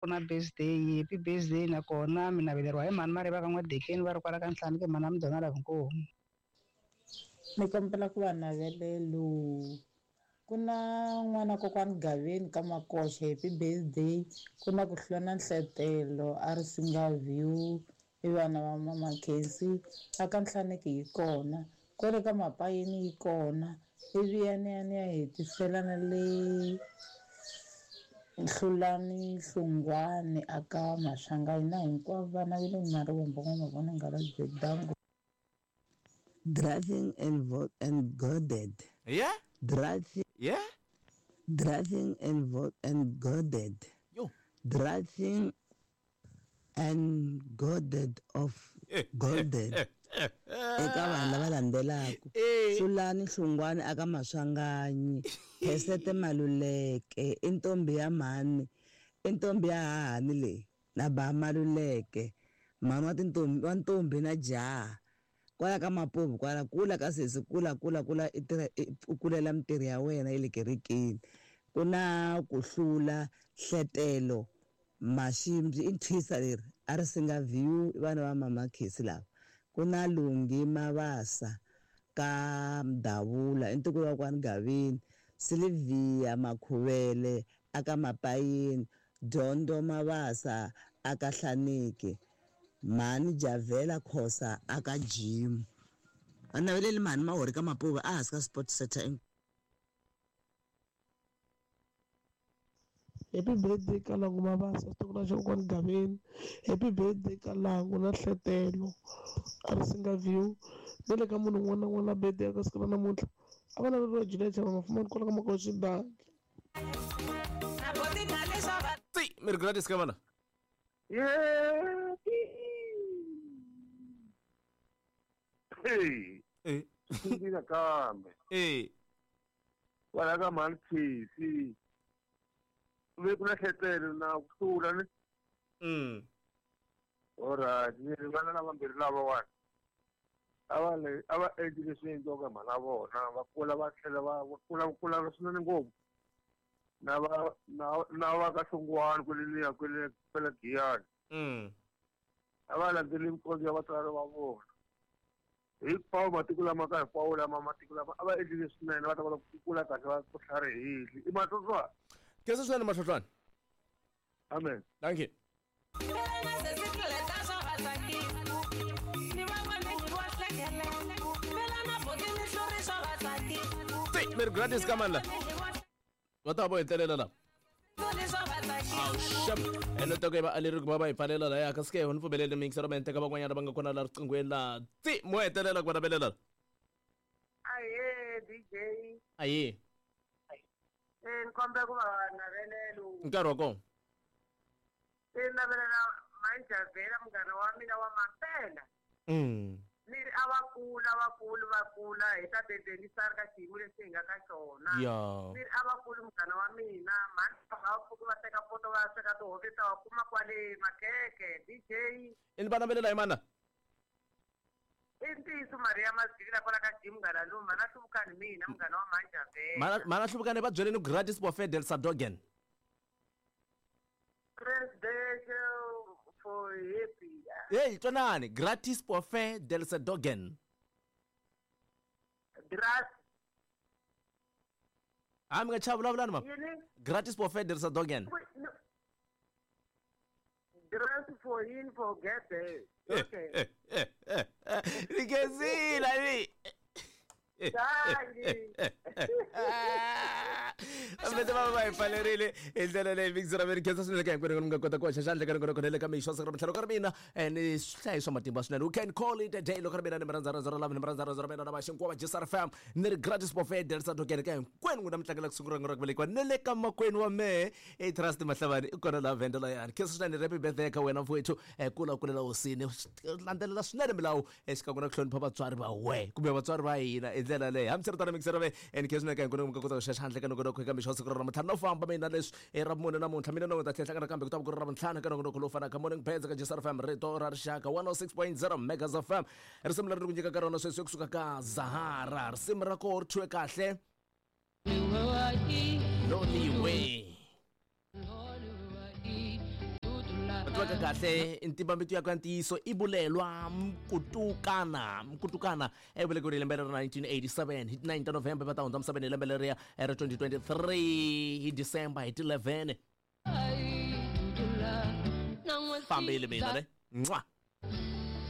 Ku na birthday, happy birthday nakona mi naveleriwa hi mhani Mariva ka N'wadekeni va ri kwala ka Ntlhanu ke mhani a Mudonala inkomu. Ni kombela ku va navelelo. Ku na n'wana kokwani Gaveni ka Makoxe happy birthday. Ku na ku hlula na Nhletelo a ri Singa View i vana va mama Khensi a ka Nhlaneki yi kona. Kwale ka Mapayeni yi kona ivi ya ni ya ni ya hetisela na le Hlulani Hlungwani a ka Maswanganyi na hinkwavo vana va le Marivombo N'wamavona Nghala Dango. Driving and vo and goaded. Yeah? Driving. Yeah? Driving and vo and goaded. Yo. Driving and goaded of goaded. Eka vanhu lava landzelaka. Hlulani Hlungwani aka Maswanganyi. Phesete Maluleke i ntombi ya mhani. I ntombi ya hahani leyi na ba Maluleke. Mhani wa tintombi wa ntombi na jaha. Kwala ka Mapuvu kwala kula ka sesi kula kula kula i tirha u kulela mintirho ya wena ya le kerekeni. Ku na ku hlula hletelo Maximbyi i thwisa leri a ri singa view i vana va mama Khesi lava. Ku na Lunghi Mabasa ka Mdavula i ntukulu wa kwani Gaveni, Sylvia Makhuvele a ka Mapayeni, Dyondo Mabasa a ka Hlaneki, Mhani Javela Khosa a ka Jimu. A naveleli mhani Mahori ka Mapuva a hansi ka Sport Center. Happy birthday ka Langu Mabasa xitukulwana xa kokwani Gaveni. Happy birthday ka Langu na Hletelo a ri Singa View na le ka munhu un'wana na un'wana la birthday ka siku ra namuntlha a va laveriwa Julia Chava Mafumani kwala ka Makosi Danki. Ti mi ri Gladys ka vana. Yeah. Hey. Eh. Ndzi kambe. Eh. Kwala ka mhani Khesi. Ve ku na hletelo na ku hlula ni. Alright, ni ri vana lavambirhi lavawani. A va le a va endli leswi endliwaka hi mhana vona, va kula va tlhela va va kula va kula swinene ngopfu. Na va na na va ka Hlongwane kwele kwele kwele Giyani. A va landzeli mikondzo ya vatswari va vona. Hinkwawo matiko lama ka hinkwawo lama matiko lama a va endlile swinene va ta kota ku kula kahle va ku tlharihile. I matlotlwana. Khensa swinene Matlotlwana. Amen. Thank you. Ti mi ri Gladys ka mani la? Va ta va vo hetelela la. Awuxam ene toko yi va aleri ku va va hi pfalela laya kasi ke ni pfumeleli miyingiselo mi teka van'wanyana va nga kona la riqinghweni la ti mo hetelela ku va navelela Ahee DJ. Ahee. Eh ni kombela ku va navelelo. Nkarhi wa kona. Eh navelela Manjavela munghana wa mina wa mampela. Ni ri a va kula va kula va kula hi ta bebelisana ka xiyimo lexi hi nga ka xona. Ni ri a va kuli munghana wa mina mhani va va pfuki va teka poto va ya sweka tihove ta wa kuma kwale makeke DJ. I ni va navelela hi mana? I ntiyiso Maria Mazivila kwala ka Jim munghana lowu mhana Hluvukani mina munghana wa Manjavela. Mhana mhana Hluvukani va byeleni Gratis Bofedel Sadogen. Presidential for happy. Hey, twanani Gratis Pofe del Sedogen. Gratis. Ha mi nga chavi vulavulani mama. Yini? Gratis Pofe del Sedogen. Gratis for him for get there. Okay. Ni khensile ni. Dankie. Vete va va hi pfalerile hi ndlela leyi mixer ra mi khensa swinene ka hinkwenu mi nga kota ku hoxa xandla ka rin'wana kona le ka mixo siku ra mintlhanu ka ri mina ni swihlayi swa matimba swinene we can call it a day loko ri mina ni mi rhandza rhandza ra lava ni mi rhandza rhandza ra mina na vaxinkuwa va gsr fm ni ri gratis buffet delisa tokene ka hinkwenu n'wina mi tlangela ku sungula ra ku velekiwa ni le ka makwenu wa mehe i trust mahlavani i kona laha venda layani khensa swinene happy birthday ka wena mfowethu kula kulela hosini landzelela swinene milawu exikan'we na ku hlonipha vatswari va we kumbe vatswari va hina hi ndlela leyi hambiswiritano mixera ve and khe swinene ka hinkwenu mi nga kota ku xa xandla ka nongonoko eka mixo wa siku ra namuntlha no famba mina leswi i ra vumune namuntlha mina no ta tlhela hlangana kambe ku ta va ku ri ra vuntlhanu ka nongonoko lowu fanaka morning birds ka gsr fm rito ra rixaka 106.0 megas fm risimu leri ni ku nyikaka rona sweswi kusuka ka zahara risimu ra koho ri thyiwe kahle lonely way. Ri twaka kahle ntimbambitu ya ka ntiyiso i Bulelwa Mkutukana. Mkutukana e velekiwile hi lembe ra 1987 hi 9 ta November, va ta hundza misaveni hi lembe leriya ra 2023 hi December hi ti 11. Fambile mina ne. Mwah.